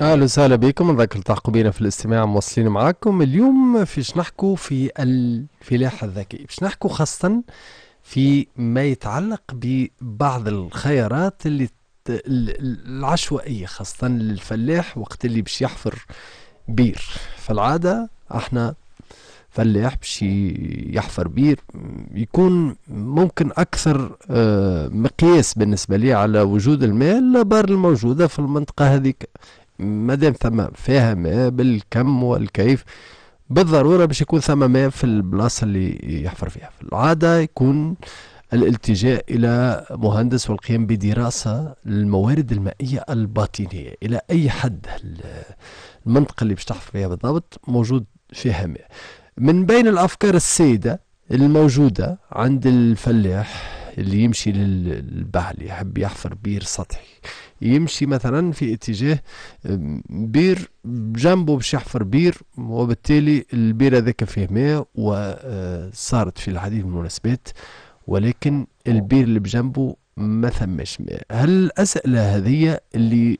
اهلا وسهلا بكم، نذكر التحقوا بنا في الاستماع، مواصلين معاكم اليوم فيش نحكوا في الفلاحة الذكية، باش نحكوا خاصة في ما يتعلق ببعض الخيارات اللي العشوائية خاصة للفلاح وقت اللي باش يحفر بير. فالعادة احنا فلاح باش يحفر بير يكون ممكن أكثر مقياس بالنسبة لي على وجود الماء الآبار الموجودة في المنطقة هذيك، مادام ثم فيها ماء بالكم والكيف بالضرورة باش يكون ثم ماء في البلاصة اللي يحفر فيها. في العادة يكون الالتجاء إلى مهندس والقيام بدراسة للموارد المائية الباطنية، إلى أي حد المنطقة اللي باش تحفر فيها بالضبط موجود فيها ماء. من بين الأفكار السائدة الموجودة عند الفلاح اللي يمشي للبحر يحب يحفر بير سطحي، يمشي مثلا في اتجاه بير بجنبه باش يحفر بير، وبالتالي البير هذاك فيه ماء وصارت في العديد من المناسبات، ولكن البير اللي بجنبه ما ثمش ماء. هل الأسئلة هذه اللي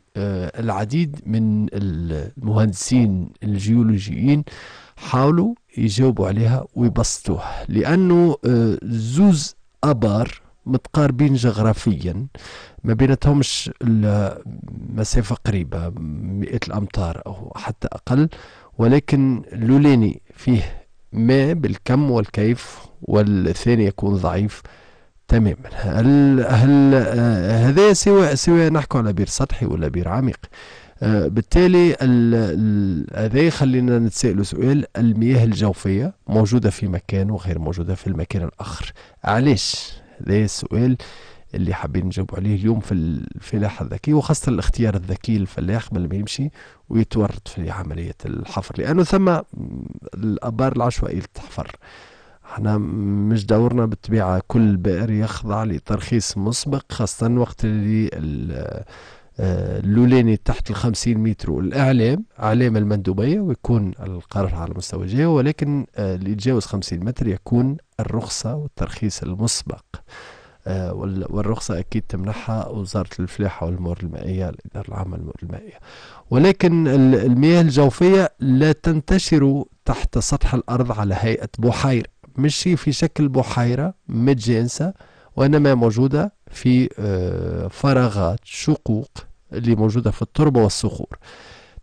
العديد من المهندسين الجيولوجيين حاولوا يجاوبوا عليها ويبسطوها، لأنه زوز أبار متقاربين جغرافيا ما بيناتهمش مسافة قريبة مئات الأمتار أو حتى أقل، ولكن لولاني فيه ماء بالكم والكيف والثاني يكون ضعيف تماما. هل هذا سواء نحكوا على بير سطحي ولا بير عميق؟ بالتالي هذا يخلينا نتسائلوا سؤال: المياه الجوفية موجودة في مكان وغير موجودة في المكان الآخر، علاش؟ هذا السؤال اللي حابين نجاوب عليه اليوم في الفلاحة الذكية، وخاصة الاختيار الذكي للفلاح قبل ما يمشي ويتورط في عملية الحفر، لأنه ثم الآبار العشوائية اللي تحفر. احنا مش دورنا بالطبيعة كل بئر يخضع لترخيص مسبق، خاصة وقت اللي اللولاني تحت 50 متر والإعلام إعلام المندوبية ويكون القرار على مستوى الجهة، ولكن اللي يتجاوز 50 متر يكون الرخصة والترخيص المسبق، والرخصة أكيد تمنحها وزارة الفلاحة والموارد المائية، الإدارة العامة للموارد المائية. ولكن المياه الجوفية لا تنتشر تحت سطح الأرض على هيئة بحيرة، مش في شكل بحيرة متجانسة، وإنما موجودة في فراغات شقوق اللي موجودة في التربة والصخور،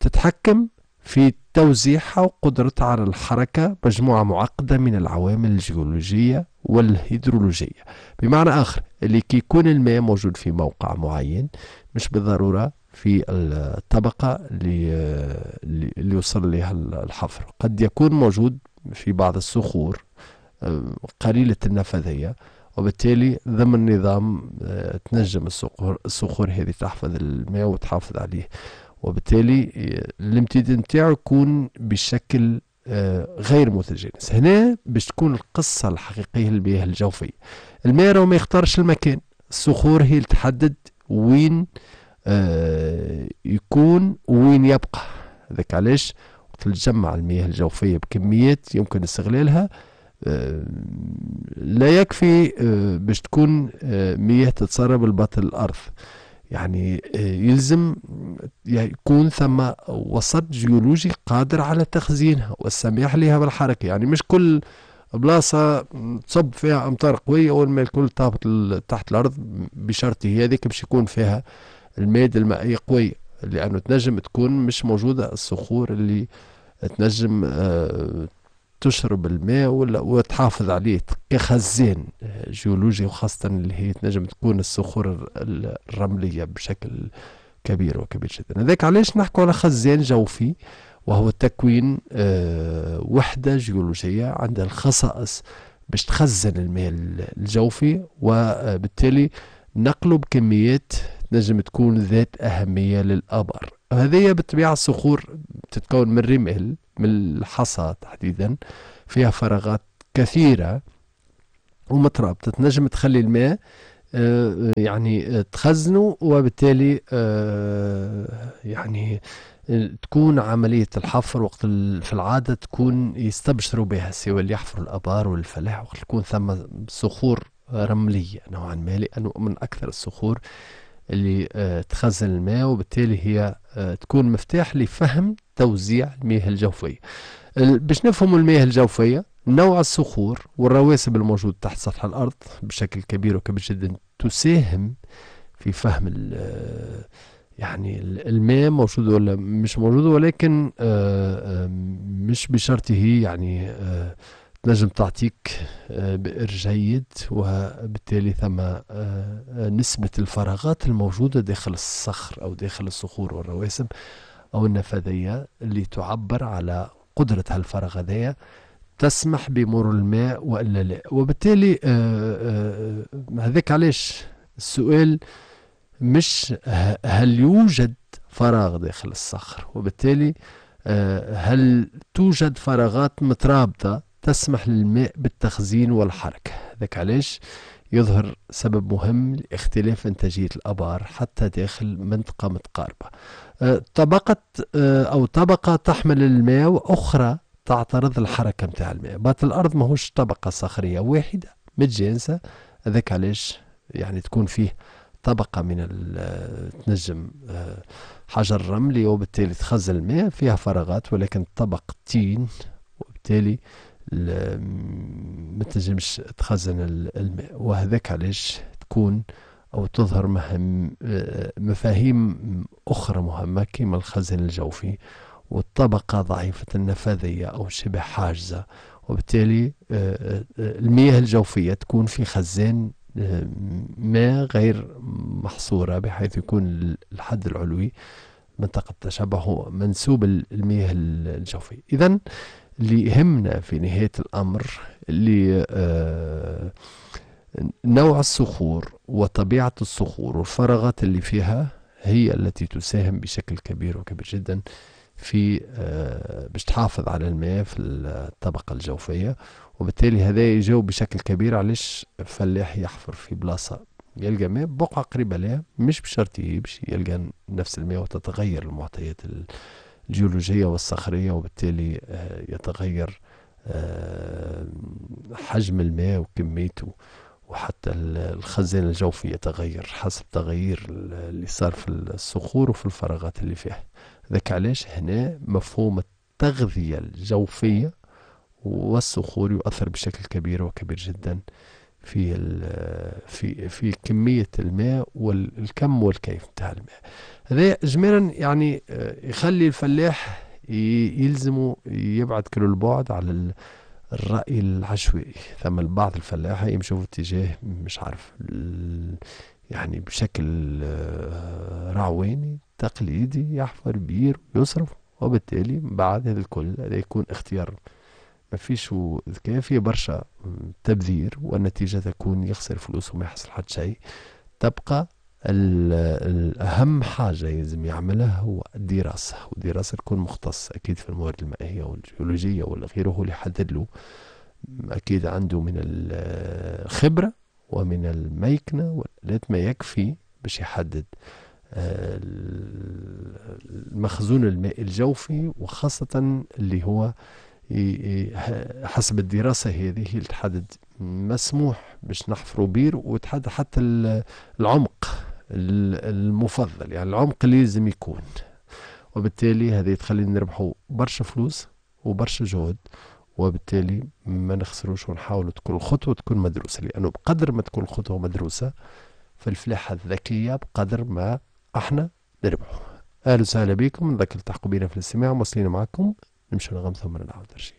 تتحكم في توزيعها وقدرتها على الحركة مجموعة معقدة من العوامل الجيولوجية والهيدرولوجية. بمعنى آخر، اللي كي يكون الماء موجود في موقع معين مش بالضرورة في الطبقة اللي وصل لها الحفر، قد يكون موجود في بعض الصخور قليلة النفاذية، وبالتالي ضمن نظام تنجم الصخور هذه تحفظ الماء وتحافظ عليه، وبالتالي الامتداد نتاعو يكون بشكل غير متجانس. هنا باش تكون القصة الحقيقية للمياه الجوفية، الماء راهو ما يختارش المكان، الصخور هي اللي تحدد وين يكون وين يبقى. هذاك علاش وقت تجمع المياه الجوفية بكميات يمكن استغلالها لا يكفي باش تكون مياه تتسرب لباطن الأرض، يعني يلزم يكون ثم وسط جيولوجي قادر على تخزينها والسماح لها بالحركة. يعني مش كل بلاصة تصب فيها أمطار قوية والماء الكل تهبط تحت الأرض، بشرط هذيك باش يكون فيها المادة المائية قوية، لأنه تنجم تكون مش موجودة الصخور اللي تنجم تشرب الماء ولا وتحافظ عليه كخزان جيولوجي، وخاصة اللي هي تنجم تكون الصخور الرملية بشكل كبير وكبير جدا. هذاك علاش نحكوا على خزان جوفي، وهو تكوين وحدة جيولوجية عندها الخصائص باش تخزن الماء الجوفي، وبالتالي نقله بكميات تنجم تكون ذات أهمية للآبار. هذه بالطبيعة الصخور تتكون من رمال، من الحصى تحديدا، فيها فراغات كثيرة ومترابطة تنجم تخلي الماء يعني تخزنه، وبالتالي يعني تكون عملية الحفر وقت في العادة تكون يستبشروا بها سواء اللي يحفروا الآبار والفلاح، وقت تكون ثم صخور رملية نوعا ما، لأنه من أكثر الصخور اللي تخزن الماء، وبالتالي هي تكون مفتاح لفهم توزيع المياه الجوفية. باش نفهموا المياه الجوفية، نوع الصخور والرواسب الموجود تحت سطح الأرض بشكل كبير وكبير جدا تساهم في فهم يعني الماء موجود ولا مش موجود، ولكن مش بشرطه يعني تنجم تعطيك بئر جيد، وبالتالي ثم نسبة الفراغات الموجودة داخل الصخر أو داخل الصخور والرواسب أو النفاذية اللي تعبر على قدرة هالفراغ هذايا تسمح بمرور الماء وإلا لا. وبالتالي هذاك علاش السؤال مش هل يوجد فراغ داخل الصخر، وبالتالي هل توجد فراغات مترابطة تسمح للماء بالتخزين والحركة. ذاك علاش يظهر سبب مهم لاختلاف إنتاجية الآبار حتى داخل منطقة متقاربة. طبقة أو طبقة تحمل الماء وأخرى تعترض الحركة متاع الماء. بات الأرض ماهوش طبقة صخرية واحدة متجانسة، هذاك علاش يعني تكون فيه طبقة من تنجم حجر رملي وبالتالي تخزن الماء فيها فراغات، ولكن طبق طين وبالتالي ما تنجمش تخزن الماء. وهذاك علاش تكون أو تظهر مفاهيم أخرى مهمة كما الخزن الجوفي والطبقة ضعيفة النفاذية أو شبه حاجزة، وبالتالي المياه الجوفية تكون في خزان ماء غير محصورة، بحيث يكون الحد العلوي منطقة التشبع هو منسوب المياه الجوفية. إذن اللي يهمنا في نهاية الأمر اللي نوع الصخور وطبيعة الصخور والفراغات اللي فيها هي التي تساهم بشكل كبير وكبير جدا في باش تحافظ على الماء في الطبقة الجوفية. وبالتالي هذا يجاوب بشكل كبير علاش فلاح يحفر في بلاصة يلقى ماء بقعة قريبة لها، مش بشرط باش يلقى نفس الماء وتتغير المعطيات الجيولوجية والصخرية، وبالتالي يتغير حجم الماء وكميته، وحتى الخزان الجوفي يتغير حسب تغيير اللي صار في الصخور وفي الفراغات اللي فيها. ذاك علاش هنا مفهوم التغذية الجوفية والصخور يؤثر بشكل كبير وكبير جدا في في في كمية الماء والكم والكيف نتاع الماء. هذا اجمالا يعني يخلي الفلاح يلزمه يبعد كل البعد على الرأي العشوائي. ثم البعض الفلاحة يمشوا في اتجاه مش عارف يعني بشكل رعواني تقليدي، يحفر بير ويصرف، وبالتالي بعد هذا الكل هذا يكون اختيار ما فيش ذكاء، فيه برشا تبذير، والنتيجة تكون يخسر فلوس وما يحصل حتى شيء. تبقى الأهم حاجة يلزم يعملها هو الدراسة، والدراسة تكون مختصة أكيد في الموارد المائية والجيولوجية ولا غيره، هو اللي يحدد له، أكيد عنده من الخبرة ومن الميكنة والآلات ما يكفي باش يحدد المخزون المائي الجوفي، وخاصة اللي هو حسب الدراسة هذه اللي تحدد مسموح باش نحفروا بير، وتحدد حتى العمق المفضل، يعني العمق اللي لازم يكون. وبالتالي هذه تخلينا نربحوا برشا فلوس وبرشا جهد، وبالتالي ما نخسروش، ونحاولوا تكون الخطوة تكون مدروسة، لأنه بقدر ما تكون الخطوة مدروسة في الفلاحة الذكية بقدر ما احنا نربحوا. أهلا وسهلا بكم، نذكر التحقوا بنا في الاستماع، مواصلين معكم، نمشوا نغم ثم نعاود نرجع.